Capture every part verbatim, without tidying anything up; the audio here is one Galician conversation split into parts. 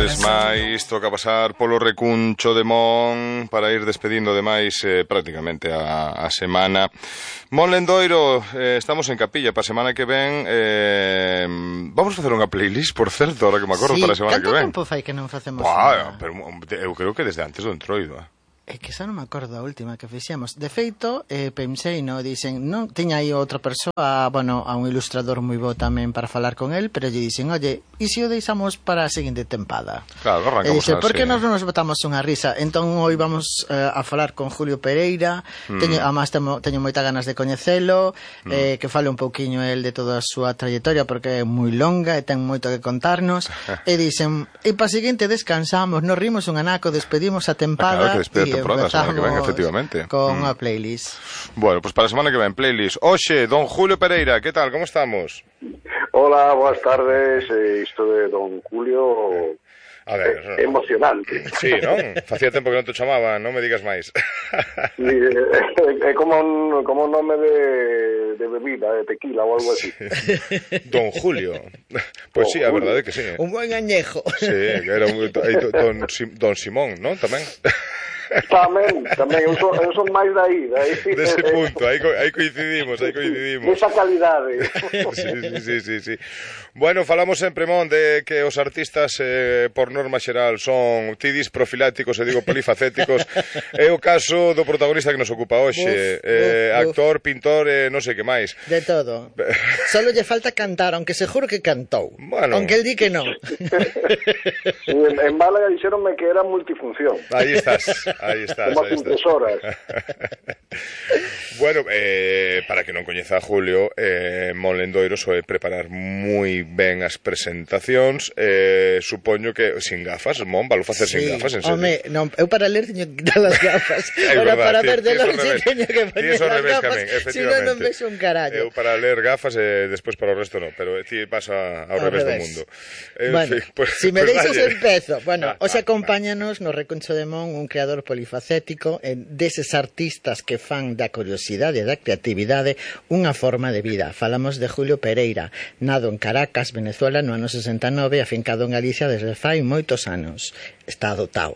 vez máis toca pasar polo recuncho de Mon para ir despedindo de máis eh, prácticamente a, a semana. Mon Lendoiro, eh, estamos en capilla para a semana que ven. eh, Vamos facer unha playlist, por certo, ahora que me acordo, sí, para a semana que ven. Canto tempo fai que non facemos Buah, unha... pero eu creo que desde antes do entroido, eh. É que xa non me acordo a última que fixemos. De feito, eh, pensei, no, dicen, non, tiña aí outra persoa, bueno, a un ilustrador moi bo tamén para falar con el, pero lle dicen, oye, e se o deixamos para a seguinte tempada? Claro, arrancamos e dice, así. por que nos non nos botamos unha risa? Entón, hoy vamos eh, a falar con Julio Pereira, mm. teño, además temo, teño moita ganas de coñecelo, mm. eh, que fale un pouquiño el de toda a súa trayectoria, porque é moi longa e ten moito que contarnos, e dicen, e para a seguinte descansamos, nos rimos un anaco, despedimos a tempada, ah, claro, que e temporada, semana que ven, efectivamente. Con mm. unha playlist. Bueno, pues para a semana que ven, playlist. Oxe, don Julio Pereira, que tal, como estamos? Hola, boas tardes. Eh, isto de don Julio... A ver, eh, emocionante. Sí, non? Facía tempo que non te chamaba, non me digas máis. Sí, é eh, como un como un nome de, de bebida, de tequila ou algo así. Don Julio. Pois pues sí, a verdade é que sí. Un buen añejo. Sí, que era un, don, don Simón, non? Tamén. Tamén, tamén, eu son, eu son máis dai, dai. Dese punto, aí, aí coincidimos, aí coincidimos. Esa calidade. Sí, sí, sí, sí, sí. Bueno, falamos sempre, Mon, de que os artistas, eh, por norma xeral, son tidis profilácticos, e digo polifacéticos. É o caso do protagonista que nos ocupa hoxe. Uf, eh, uf, actor, pintor, eh, non sei que máis. De todo. Solo lle falta cantar, aunque seguro que cantou. Bueno. Aunque el di que non. Sí, en, en Málaga dixeronme que era multifunción. Aí estás. Aí estás, como aí estás. horas. Bueno, eh, para que non coñeza a Julio, eh, Mon Lendoiro soe preparar moi ben as presentacións. eh, Supoño que sin gafas, Mon, valo facer sí, sin gafas, en serio. Home, non, eu para ler teño que quitar as gafas. Ahora para ver de longe teño que poner as gafas, si non non vexo un carallo. Eu para ler gafas e eh, despois para o resto non, pero ti pasa ao, ao revés, revés do mundo. Eh, bueno, sí, pues, si me pues deixas vale. empezo. Bueno, ah, os acompáñanos no Recuncho de Mon un creador polifacético, deses artistas que fan da curiosidade e da creatividade unha forma de vida. Falamos de Julio Pereira, nado en Caracas, Venezuela, no ano sesenta e nove, afincado en Galicia desde fai moitos anos. Está adotado.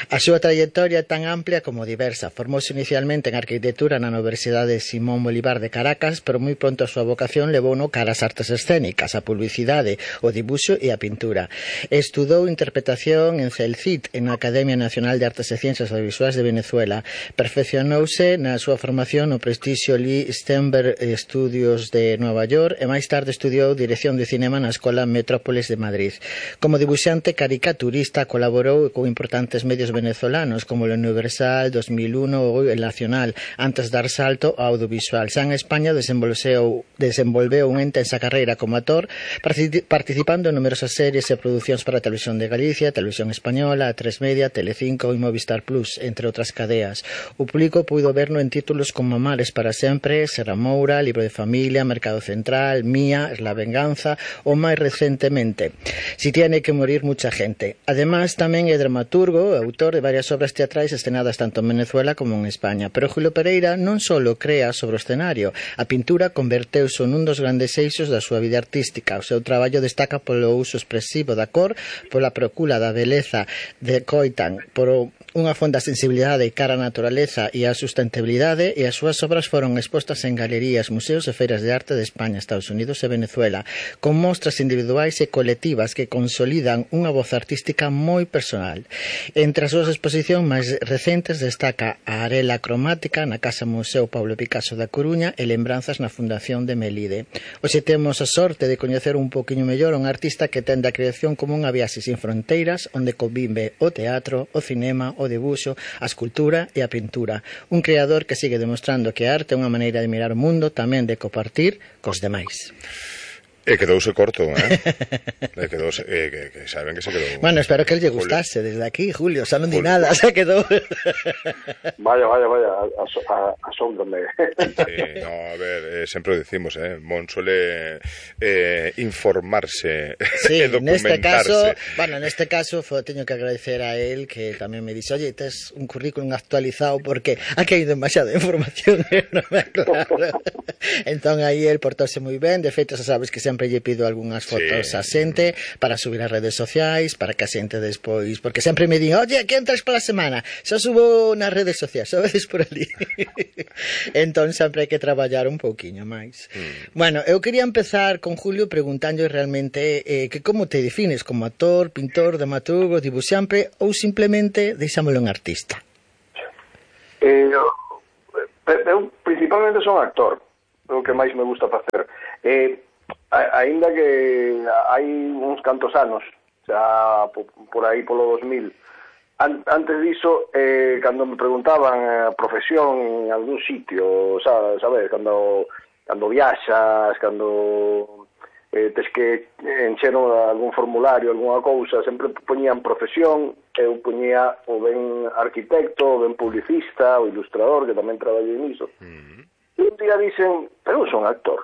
A súa trayectoria é tan amplia como diversa. Formouse inicialmente en arquitectura na Universidade Simón Bolívar de Caracas, pero moi pronto a súa vocación levouno cara ás artes escénicas, a publicidade, o dibuixo e a pintura. Estudou interpretación en CELCIT, en a Academia Nacional de Artes e Ciencias Audiovisuais de Venezuela. Perfeccionouse na súa formación no prestixio Lee Steinberg Studios de Nova York e máis tarde estudiou dirección de cinema na Escola Metrópolis de Madrid. Como dibuixante caricaturista colaborou con importantes medios venezolanos como el Universal, dos mil uno ou el Nacional, antes de dar salto ao audiovisual. Xa en España desenvolveu, desenvolveu unha intensa carreira como actor, participando en numerosas series e producións para a Televisión de Galicia, Televisión Española, A tres Media, Telecinco e Movistar Plus, entre outras cadeas. O público puido verno en títulos como Amares para sempre, Serra Moura, Libro de Familia, Mercado Central, Mía, La Venganza ou máis recentemente Si tiene que morir mucha gente. Además, tamén é dramaturgo e autor de varias obras teatrais escenadas tanto en Venezuela como en España. Pero Julio Pereira non só crea sobre o escenario, a pintura converteuse nun dos grandes eixos da súa vida artística. O seu traballo destaca polo uso expresivo da cor, pola procura da beleza de coitan, por unha fonda sensibilidade cara á naturaleza e á sustentabilidade, e as súas obras foron expostas en galerías, museos e feiras de arte de España, Estados Unidos e Venezuela, con mostras individuais e colectivas que consolidan unha voz artística moi personal. Entre as súas exposicións máis recentes destaca a Arela Cromática na Casa Museo Pablo Picasso da Coruña e Lembranzas na Fundación de Melide. Hoxe temos a sorte de coñecer un poquinho mellor un artista que ten da creación como unha viaxe sin fronteiras, onde convive o teatro, o cinema, o debuxo, a escultura e a pintura. Un creador que sigue demostrando que a arte é unha maneira de mirar o mundo, tamén de compartir cos demais. E quedouse corto, eh? E quedouse, eh, que, que saben que se quedou. Bueno, espero que el lle gustase desde aquí, Julio, xa non di nada, se quedou. Vaya, vaya, vaya, asómbrame. Sí, no, a ver, eh, sempre o decimos, eh, Mon suele eh, informarse sí, e documentarse. Neste caso, bueno, neste caso fo, teño que agradecer a él que tamén me dixe, oye, tes un currículum actualizado porque aquí hai demasiada información, non me aclaro. Entón aí él portóse moi ben, de feito, xa sabes que sempre sempre lle pido algunhas fotos sí. a xente para subir as redes sociais, para que a xente despois, porque sempre me di, oye, que entras para a semana? Xa subo nas redes sociais, a veces por ali. Entón sempre hai que traballar un pouquiño máis. Mm. Bueno, eu quería empezar con Julio preguntando realmente eh, que como te defines, como actor, pintor, dramaturgo, dibuixante ou simplemente deixámolo en artista? Eh, eu principalmente son actor, é o que máis me gusta facer. Eh, aínda que hai uns cantos anos, xa por aí polo dos mil, an, antes diso, eh, cando me preguntaban a profesión en algún sitio, sabes, cando, cando viaxas, cando eh, tes que encher algún formulario, algunha cousa, sempre poñían profesión, eu poñía o ben arquitecto, o ben publicista, o ilustrador, que tamén traballei niso. Mm. E un día dicen, pero eu son actor.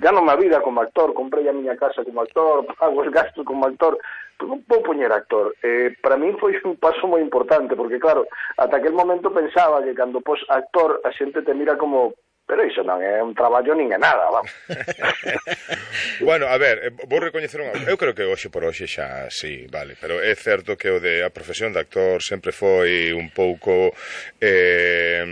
Gano má vida como actor, comprei a miña casa como actor, pago os gastos como actor, pero non vou poñer actor. Eh, para mí foi un paso moi importante, porque claro, ata aquel momento pensaba que cando pos actor a xente te mira como, pero iso non é un traballo nin é nada, vamos. Bueno, a ver, vou recoñecer unha... Eu creo que hoxe por hoxe xa sí, vale, pero é certo que o de a profesión de actor sempre foi un pouco eh,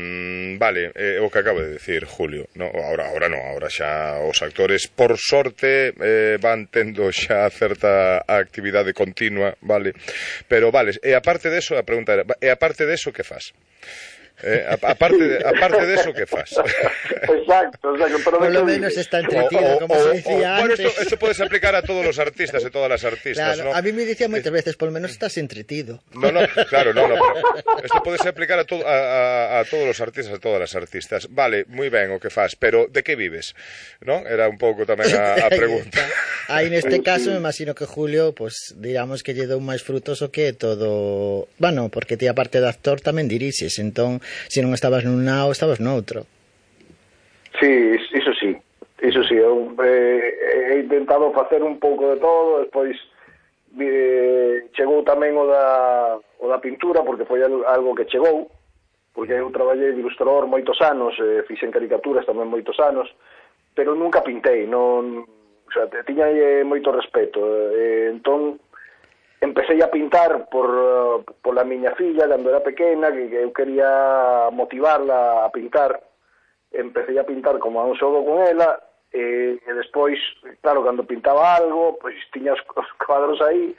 vale, é o que acabo de decir Julio, no, ahora, ahora non, ahora xa os actores por sorte eh, van tendo xa certa actividade continua, vale, pero vale, e aparte deso, a pregunta era, e aparte deso que fas? Eh, aparte de, aparte de eso, ¿qué fas? Exacto, exacto, pero por lo menos está entretenido, como se decía o, antes. Bueno, esto, esto puedes aplicar a todos los artistas y todas las artistas, claro, ¿no? A mí me decía muchas veces, por lo menos estás entretido. No, no, claro, no, no. Esto puedes aplicar a, to, a, a, a todos los artistas, a todas las artistas. Vale, muy ben o que fas, pero de que vives? ¿No? Era un pouco tamén a, a pregunta. Aí neste caso, me imagino que Julio, pues, digamos que lle dou máis frutoso que todo... Bueno, porque ti aparte de actor tamén dirixes, entón se non estabas nun lado, estabas noutro. Sí, iso sí, iso sí, eu eh, he intentado facer un pouco de todo, despois eh, chegou tamén o da, o da pintura, porque foi algo que chegou, porque eu traballei de ilustrador moitos anos, eh, fixen caricaturas tamén moitos anos, pero nunca pintei, non, o sea, tiña eh, moito respeto, eh, entón empecé a pintar por, por la miña filla cando era pequena, que, que eu quería motivarla a pintar. Empecé a pintar como a un xogo con ela, e, e despois, claro, cando pintaba algo, pois tiña os, os cuadros aí,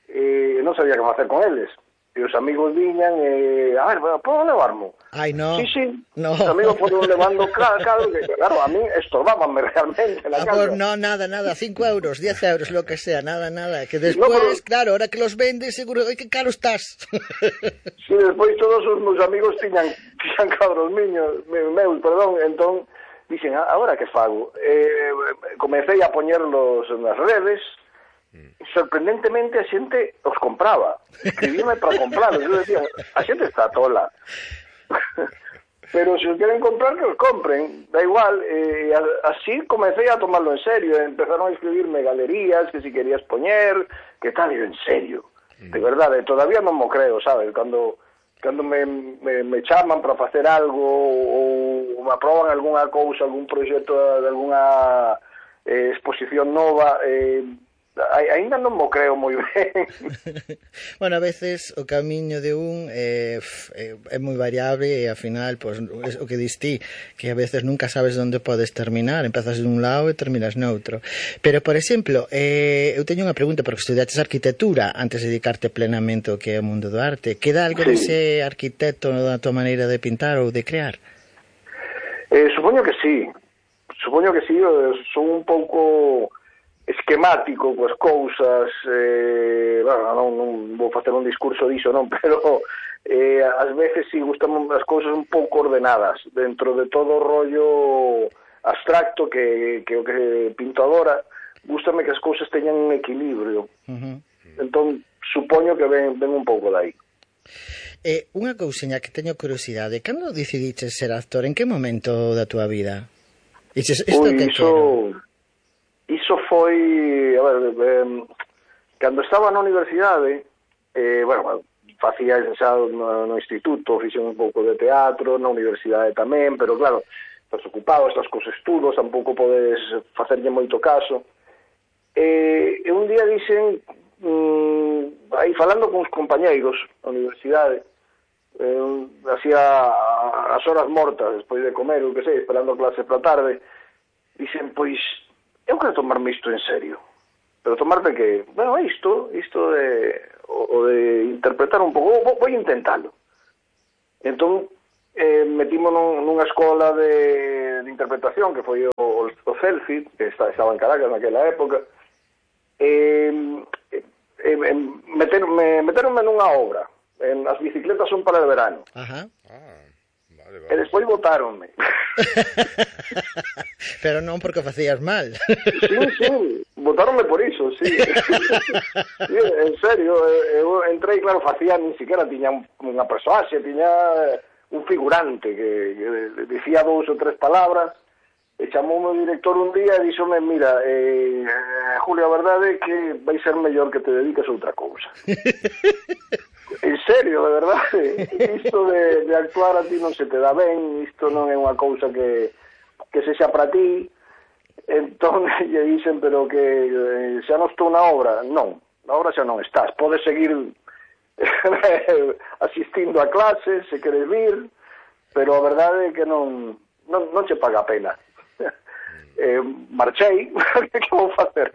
e non sabía que facer con eles. E os amigos viñan e, a ver, podo levarmo? Ai, no. Sí, sí, no. Os amigos foron levando, claro, claro, que, claro, a mí estorbábanme realmente na ah, casa. Pues no, nada, nada, cinco euros, diez euros, lo que sea, nada, nada, que despois, no, pero... claro, ahora que los vendes, seguro, oi, que caro estás. Sí, despois todos os meus amigos tiñan, tiñan cabros miños, meus, perdón, entón, dixen, agora que fago? Eh, comecei a poñerlos nas redes, sorprendentemente a xente os compraba, escribíme para comprarlos, eu decía, a xente está tola, pero se os queren comprar que os compren, da igual, eh, así comecei a tomarlo en serio, empezaron a escribirme galerías, que si querías poñer, que tal, en serio, de verdade, todavía non mo creo, sabes, cando cando me, me, me chaman para facer algo ou me aproban algunha cousa, algún proxecto de alguna eh, exposición nova, eh, ainda non mo creo moi ben. Bueno, a veces o camiño de un é, é moi variable e ao final, pues, o que distí, que a veces nunca sabes onde podes terminar, empezas dun lado e terminas noutro. Pero, por exemplo, eh, eu teño unha pregunta, porque estudaches arquitectura antes de dedicarte plenamente ao que é o mundo do arte. Queda algo sí. dese arquitecto da tua maneira de pintar ou de crear? Eh, supoño que sí. Supoño que sí, son un pouco esquemático coas cousas, eh, bueno, non, non vou facer un discurso diso, non, pero eh, ás veces si sí, gustan as cousas un pouco ordenadas dentro de todo o rollo abstracto que, que o que pinto agora, gústame que as cousas teñan un equilibrio. Uh-huh. Entón, supoño que ven, ven un pouco dai. Eh, unha cousiña que teño curiosidade, cando decidiches ser actor, en que momento da túa vida? Dices, isto Ui, que iso... quero? Iso foi, a ver, eh, cando estaba na universidade, eh, bueno, facía xa no, no instituto, fixen un pouco de teatro, na universidade tamén, pero claro, estás ocupado, estás cos estudos, tampouco podes facerlle moito caso. E, e un día dicen, mm, aí falando con os compañeiros da universidade, eh, hacía as horas mortas despois de comer, o que sei, esperando a clase para tarde, dicen, pois, eu quero tomarme isto en serio. Pero tomarte que, bueno, isto, isto de, o, o de interpretar un pouco, vou, vou intentalo. Entón, eh, metimos nun, nunha escola de, de interpretación, que foi o, o Celfid, que estaba en Caracas naquela época, e eh, eh, meteronme, meteronme nunha obra, en As bicicletas son para el verano. Ajá. Ah, vale, vale. E despois botáronme. Pero non porque o facías mal. Sí, sí, botáronme por iso, sí. Sí, en serio, eu entrei, claro, facía, ni siquiera tiña unha persoaxe, tiña un figurante que, que dicía dous ou tres palabras. E chamoume o director un día e díxome, mira, eh, Julio, a verdade é que vai ser mellor que te dediques a outra cousa. En serio, de verdade, isto de, de actuar a ti non se te dá ben, isto non é unha cousa que, que sexa para ti. Entón, lle dixen, pero que eh, xa non estou na obra. Non, na obra xa non estás, podes seguir asistindo a clases, se queres vir, pero a verdade é que non, non, non che paga a pena. Eh, marchei, que vou facer?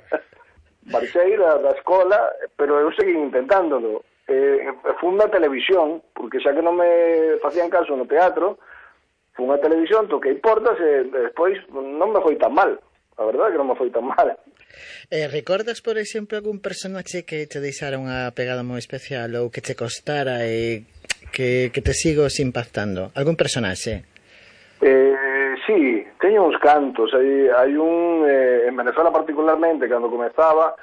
Marchei da, da escola, pero eu segui intentándolo. Eh, fun na televisión, porque xa que non me facían caso no teatro, fun a televisión, toquei portas e despois non me foi tan mal. A verdade é que non me foi tan mal. Eh, recordas, por exemplo, algún personaxe que te deixara unha pegada moi especial ou que te costara e que, que te sigo impactando? Algún personaxe? Eh, sí, teño uns cantos. Hai, hai un, eh, en Venezuela particularmente, cando comezaba,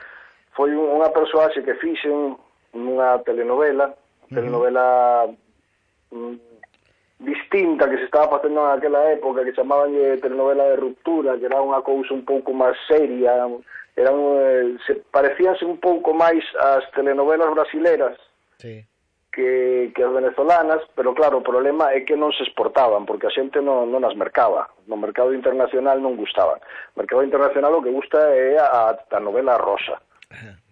foi un, unha persoaxe que fixen nunha telenovela, uh-huh. telenovela mm, distinta que se estaba facendo naquela época, que chamaban telenovela de ruptura, que era unha cousa un pouco máis seria, eran, eh, se parecíanse un pouco máis ás telenovelas brasileras, sí. que, que as venezolanas, pero claro, o problema é que non se exportaban, porque a xente non, non as mercaba, no mercado internacional non gustaban. No mercado internacional o que gusta é a, a novela rosa,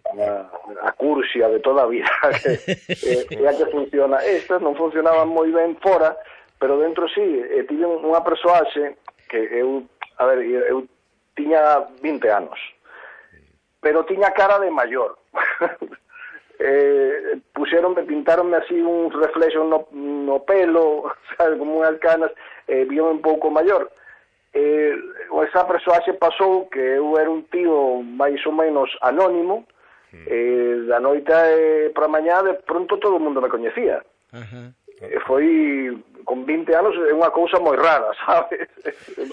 a, a cursia de toda a vida, que é, é a que funciona. Estas non funcionaban moi ben fora, pero dentro sí, eh, tive unha persoaxe que eu, a ver, eu tiña vinte anos, pero tiña cara de maior. eh, puxeronme, pintaronme así uns reflexos no, no pelo, sabe, como unhas canas, eh, víome un pouco maior. Eh, esa persoaxe pasou que eu era un tío máis ou menos anónimo, eh, da noite eh, para mañá de pronto todo o mundo me coñecía. Uh-huh. E foi, con vinte anos, é unha cousa moi rara, sabes?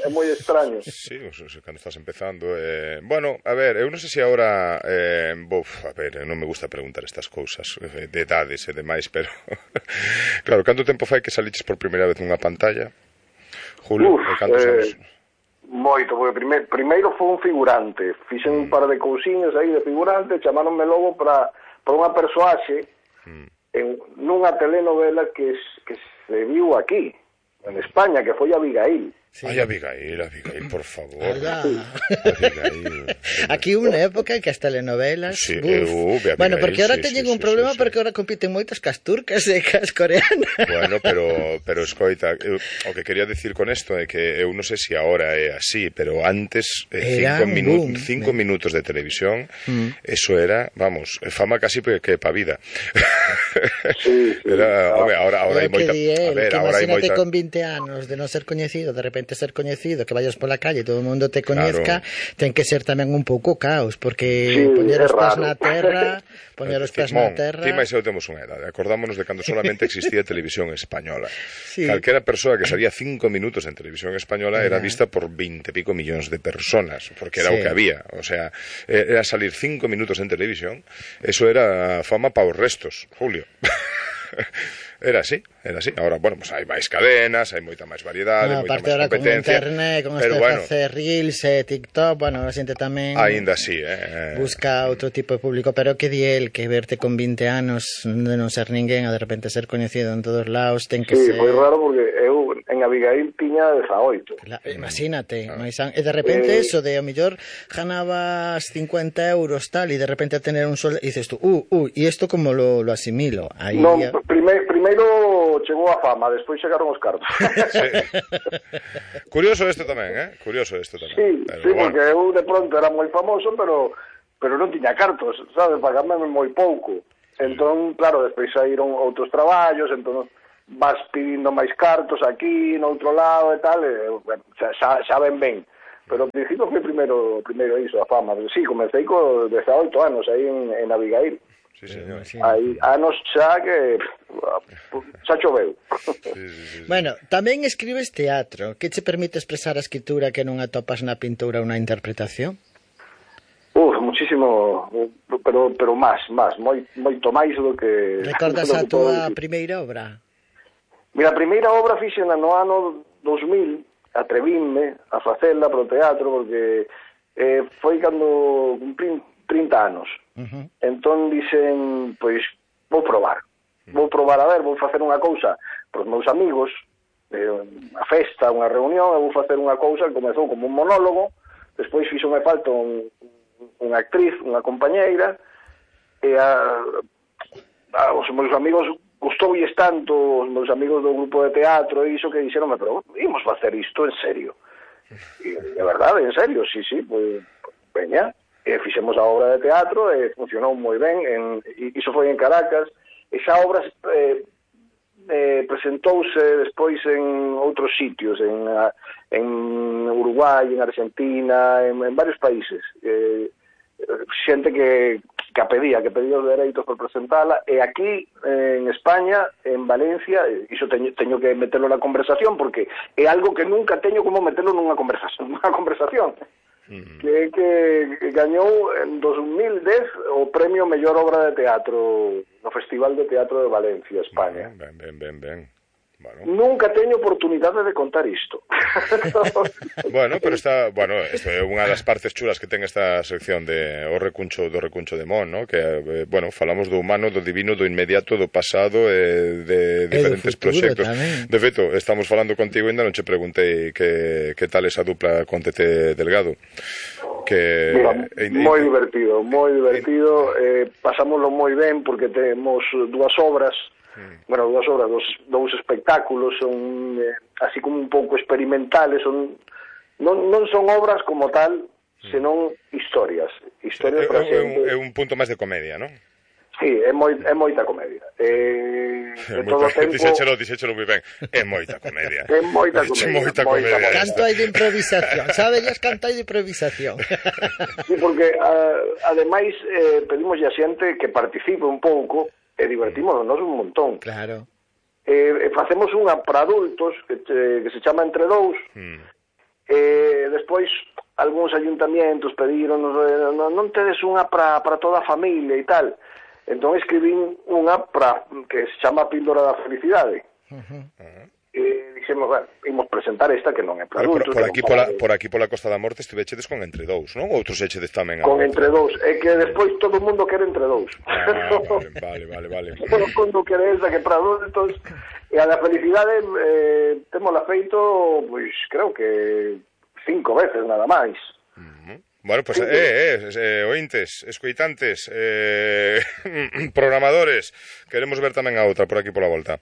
É moi extraño. Sí, cando estás empezando. Eh, bueno, a ver, eu non sei se agora... Eh, buf, a ver, non me gusta preguntar estas cousas de edades e demais, pero... claro, canto tempo fai que saliches por primeira vez nunha pantalla? Julio, Uf, cantos eh, anos? Moito, porque prime, primeiro foi un figurante. Fixen mm. un par de cousiños aí de figurante, chamáronme logo para, para unha persoaxe mm. en nunha telenovela que, que se viu aquí, en España, que foi Abigail. Sí. Ay, Abigail, Abigail, por favor. Abigail. Aquí unha época en que as telenovelas... Sí, eu, Abigail, bueno, porque ahora sí, teñen sí, un sí, problema sí, sí. porque ahora compiten moitas cas turcas e cas coreanas. Bueno, pero, pero escoita, eu, o que quería decir con esto é que eu non sei se agora é así, pero antes eh, cinco, minu boom, cinco me... minutos de televisión, mm. eso era, vamos, fama casi que pa vida. Sí, sí. Era, home, ahora, ahora hai moita... A ver, que ahora hai moita... con vinte anos de non ser coñecido, de repente ser coñecido, que vayas pola calle e todo o mundo te coñezca, claro. Ten que ser tamén un pouco caos, porque sí, poñer os pés na terra, poñer os pés na terra... Ti máis eu temos unha edade, acordámonos de cando solamente existía televisión española. Sí. Calquera persoa que salía cinco minutos en televisión española era vista por veinte e pico millóns de personas, porque era sí. o que había, o sea, era salir cinco minutos en televisión, eso era fama para os restos, Julio. Era así, era así. Ahora, bueno, pues hai máis cadenas, hai moita máis variedade, no, moita máis competencia. Con internet, con pero este bueno, facer reels e TikTok, bueno, a xente tamén ainda así, eh. busca outro tipo de público, pero que di el que verte con vinte anos de non ser ninguén a de repente ser coñecido en todos lados, ten que sí, ser... foi raro porque eu en en Abigail tiña dezaoito. Claro, imagínate, ah. e de repente eh, eso de a mellor ganabas cincuenta euros tal, e de repente a tener un sol, e dices tú, uh, uh, e isto como lo, lo asimilo? Aí non, ya... prime, primeiro chegou a fama, despois chegaron os cartos. Sí. Curioso isto tamén, eh? Curioso isto tamén. Sí, pero, sí, bueno. Porque eu de pronto era moi famoso, pero pero non tiña cartos, sabes, pagándome moi pouco. Entón, claro, despois saíron outros traballos, entón vas pidindo máis cartos aquí, no outro lado e tal, e, xa, xa, xa ven ben. Pero ao principio foi primeiro, primeiro iso, a fama. Sí, comecei co dezaoito anos aí en, en Abigail. Sí, señor. Hai anos xa que xa choveu. Sí, sí, sí, sí. Bueno, tamén escribes teatro. Que che permite expresar a escritura que non atopas na pintura ou na interpretación? Uf, muchísimo, pero pero máis, máis, moi, moito máis do que... Recordas a túa primeira obra? Mira, a primeira obra fixena no ano dos mil, atrevínme a facela pro teatro, porque eh, foi cando cumplín trinta anos. Uh-huh. Entón dixen, pois, vou probar. Vou probar, a ver, vou facer unha cousa pros meus amigos, eh, unha festa, unha reunión, e vou facer unha cousa que comezou como un monólogo, despois fixo me falta un, unha actriz, unha compañeira, e a, a, os meus amigos gustouilles tanto, os meus amigos do grupo de teatro e iso, que dixeronme, pero imos facer isto en serio. E, de verdade, en serio, sí, sí, pois, veña, e fixemos a obra de teatro e funcionou moi ben, en, e iso foi en Caracas. Esa obra eh, eh, presentouse despois en outros sitios, en, en Uruguai, en Argentina, en, en varios países. Eh, xente que, que a pedía, que pedía os dereitos por presentala, e aquí en España, en Valencia, iso teño, teño que meterlo na conversación, porque é algo que nunca teño como meterlo nunha conversación, nunha conversación. Uh-huh. que, que gañou en dos mil dez o premio Mellor Obra de Teatro no Festival de Teatro de Valencia, España. Ben, ben, ben, ben. Bueno. Nunca teño oportunidade de contar isto. Bueno, pero está, bueno, isto é unha das partes chulas que ten esta sección de o recuncho do recuncho de Mon, ¿no? Que eh, bueno, falamos do humano, do divino, do inmediato, do pasado e de diferentes proxectos. De feito, estamos falando contigo e ainda non che preguntei que que tal esa dupla con Tete Delgado. Que mira, eh, moi divertido, moi divertido, eh, pasámoslo moi ben porque temos dúas obras. Mm. Bueno, dúas obras, dos, dous espectáculos, son eh, así como un pouco experimentales, son non, non son obras como tal, senón historias, historias é, para é, un, é un punto máis de comedia, non? Sí, é, moi, é moita comedia. Eh, de todo o tempo... Dixéchelo, dixéchelo moi ben. É moita comedia. É moita comedia. Moita comedia. Moita canto hai de improvisación, sabes, canto hai de improvisación. Sí, porque a, ademais eh, pedimos a xente que participe un pouco e divertimos nos un montón. Claro. Eh, facemos unha para adultos que, que se chama Entre Dous. Mm. Eh, despois algúns ayuntamientos pediron non, non tedes unha para para toda a familia e tal. Entón escribín unha para que se chama Píldora da Felicidade. Uh-huh. E dixemos, bueno, imos presentar esta que non é para adultos. Por, por, aquí, pola, por aquí pola Costa da Morte estivechedes con Entre Dous, non? Outros echedes tamén a... Con Entre Dous, é que despois todo o mundo quere Entre Dous. Ah, vale, vale, vale, vale. Todo o mundo quere esa que para adultos. E a da Felicidade eh, temola feito, pois, creo que cinco veces nada máis. Uh-huh. Bueno, pues, eh, eh, eh, ointes, escoitantes, eh, programadores, queremos ver tamén a outra por aquí pola volta.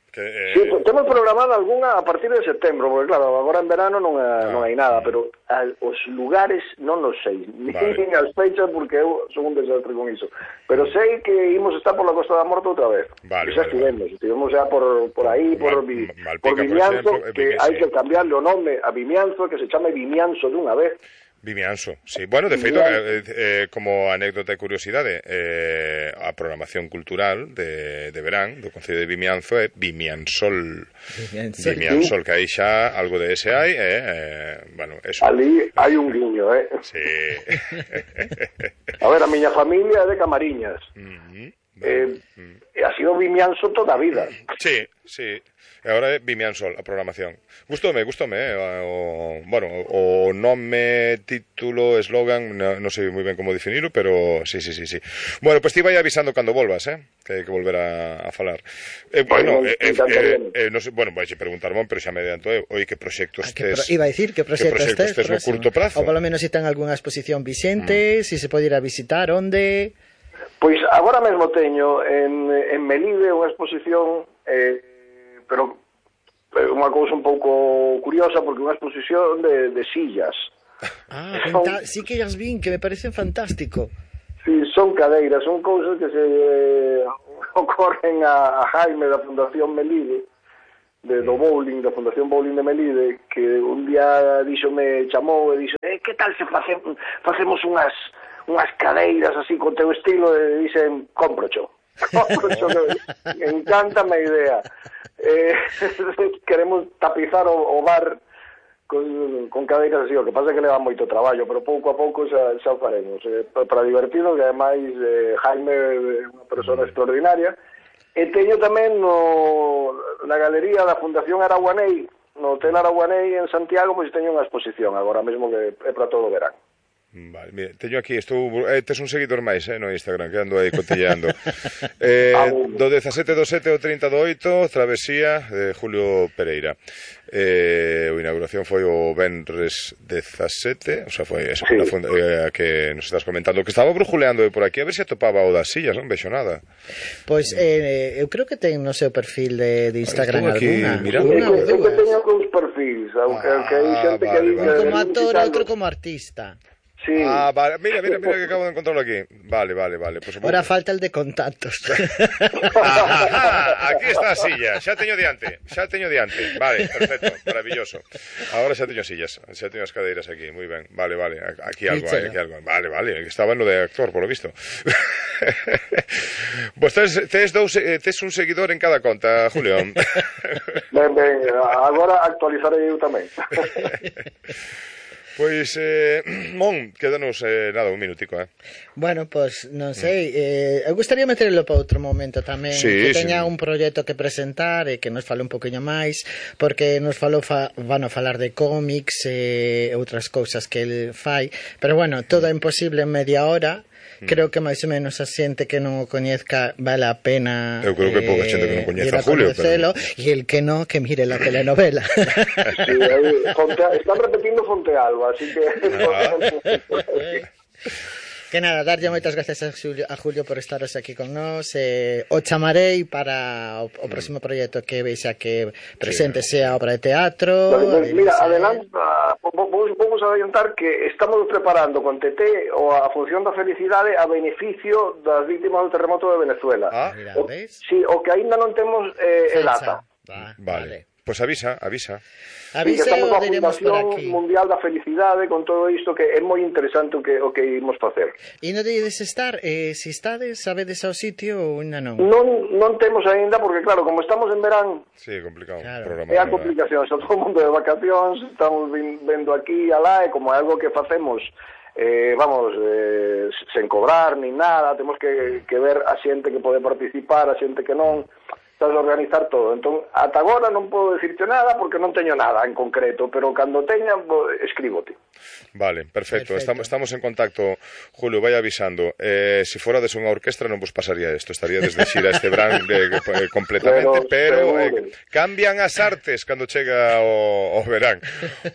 Que, eh... Sí, temos programada algunha a partir de setembro, porque claro, agora en verano non, ah, non hai nada, pero a, os lugares non os sei, vale. Nin as fechas, porque eu son un desastre con iso, pero sei que imos estar por la Costa da Morte outra vez, vale, xa vale, estivemos, vale. estivemos xa por, por aí, por, Mal, vi, Malpica, por Vimianzo, por exemplo, que sí. hai que cambiarle o nome a Vimianzo, que se chame Vimianzo dunha vez. Vimianzo, sí. Bueno, de feito, eh, eh, como anécdota e curiosidade, eh, a programación cultural de, de verán do Concello de Vimianzo é Vimiansol. Vimiansol, Vimiansol, que aí xa algo de ese hai, eh, eh, bueno, eso. Ali hai un guiño, eh? Sí. A ver, a miña familia é de Camariñas. Uh-huh. Eh, mm. Ha sido Vimianzo toda a vida. Sí, sí. E agora é Vimianzo a programación. Gustoume, gustoume, eh? o, bueno, o nome, título, eslogan, non no sei moi ben como definirlo, pero sí, sí, sí, sí. Bueno, pois pues ti vai avisando cando volvas, eh? Que hai que volver a, a falar. Eh, bueno, eh, eh, eh, eh, no sé, bueno, vais a preguntar, mon, pero xa me adianto, eh? Oi, que proxectos tes... Pro, iba a dicir, que proxectos tes, tes no curto prazo? Ou polo menos se ten algunha exposición vixente, mm. se se pode ir a visitar, onde... Pois agora mesmo teño en, en Melide unha exposición, eh, pero unha cousa un pouco curiosa, porque unha exposición de, de sillas. Ah, son... sí que as vin, que me parecen fantástico. Sí, son cadeiras, son cousas que se eh, ocorren a, a Jaime da Fundación Melide, de, do bowling, da Fundación Bowling de Melide, que un día dixo, me chamou e dixo, eh, que tal se facemos, facemos unhas unhas cadeiras así con teu estilo, e dicen, comprocho. Comprocho, que me encanta a idea. Eh, queremos tapizar o, o bar con, con cadeiras así, o que pasa é que leva moito traballo, pero pouco a pouco xa, xa o faremos. Eh, para divertido, que ademais eh, Jaime é unha persona extraordinaria. E teño tamén no, na galería da Fundación Araguanei, no Hotel Araguanei en Santiago, pois teño unha exposición agora mesmo que é para todo o verán. Vale, mire, teño aquí, estou, eh, tes un seguidor máis, eh, no Instagram, que ando aí cotilleando. eh, do dezasete do sete ao trinta do oito, Travesía de Julio Pereira. Eh, a inauguración foi o venres dezasete, o sea, foi esa sí. Funda, eh, que nos estás comentando, que estaba brujuleando por aquí, a ver se atopaba o das sillas, non vexo nada. Pois, eh, eu creo que ten no seu perfil de, de Instagram aquí, alguna. Mira, una eu que teño dous perfis, aunque ah, hai xente que dice... Un como actor, outro como artista. Sí. Ah, vale, mira, mira, mira que acabo de encontrarlo aquí. Vale, vale, vale. Pues, ahora falta el de contactos. ah, ah, aquí está a silla, xa teño diante, xa teño diante. Vale, perfecto, maravilloso. Agora xa teño sillas, xa teño as cadeiras aquí, moi ben. Vale, vale, aquí algo, hai, aquí algo. Vale, vale, estaba en lo de actor, por lo visto. Pues tes, tes, dous, tes un seguidor en cada conta, Julio. Ben, ben, agora actualizarei eu tamén. Pois, eh, Mon, quédanos, eh, nada, un minutico, eh. Bueno, pois, non sei, eh, eu gustaría meterlo para outro momento tamén, sí, que teña sí. un proxecto que presentar e que nos fale un poquinho máis, porque nos falou, fa, van a falar de cómics e eh, outras cousas que el fai, pero bueno, todo é imposible en media hora. Creo que máis ou menos a xente que non o coñezca vale a pena. Eu creo que pouca xente que non coñece a Julio, pero... e el que non, que mire la telenovela. Sí, aí, Fonte, están repetindo Fontealba, así que ah. Que nada, darlle moitas gracias a Julio, a Julio por estaros aquí con nós, eh, o chamarei para o, o próximo proxecto que vexa que presente sí, sea obra de teatro. Vale, mira, adelanta, vamos, vamos a adiantar que estamos preparando con T T o a función da felicidade a beneficio das vítimas do terremoto de Venezuela. Ah, mira, o, sí, o que aínda non temos eh, el ata. Va, vale. vale. Pois pues avisa, avisa. Avisa, sí, estamos a Fundación Mundial da Felicidade con todo isto, que é moi interesante o que o que imos facer. E non dedes estar, eh, se estades, sabedes ao sitio ou ainda non? Non non temos aínda, porque claro, como estamos en verán, sí, complicado. Claro. É a complicación, está todo o mundo de vacacións, estamos vendo aquí e alá, e como é algo que facemos eh, vamos, eh, sen cobrar nin nada, temos que, que ver a xente que pode participar, a xente que non, estás a organizar todo. Entón, ata agora non podo dicirte nada porque non teño nada en concreto, pero cando teña, escríbote. Vale, perfecto. perfecto. Estamos, estamos en contacto, Julio, vai avisando. Eh, se fora de unha orquestra non vos pasaría isto, estaría desde xira este verán de, eh, completamente, pero, pero eh, cambian as artes cando chega o, o verán.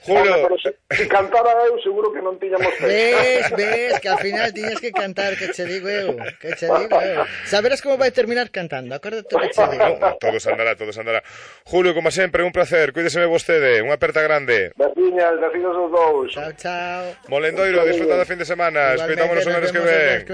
Julio... Bueno, pero se, se cantara eu, seguro que non tiñamos fe. Ves, ves, que al final tiñas que cantar, que che digo eu, que che digo eu. Saberás como vai terminar cantando, acuérdate que che digo. Todo se andará, todo se andará. Julio, como sempre, un placer. Cuídeseme vostede. Unha aperta grande. Veciñas, vecinos os dous. Chao, chao. Molendoiro, disfruta da fin de semana. Escoitámonos o menos que ven.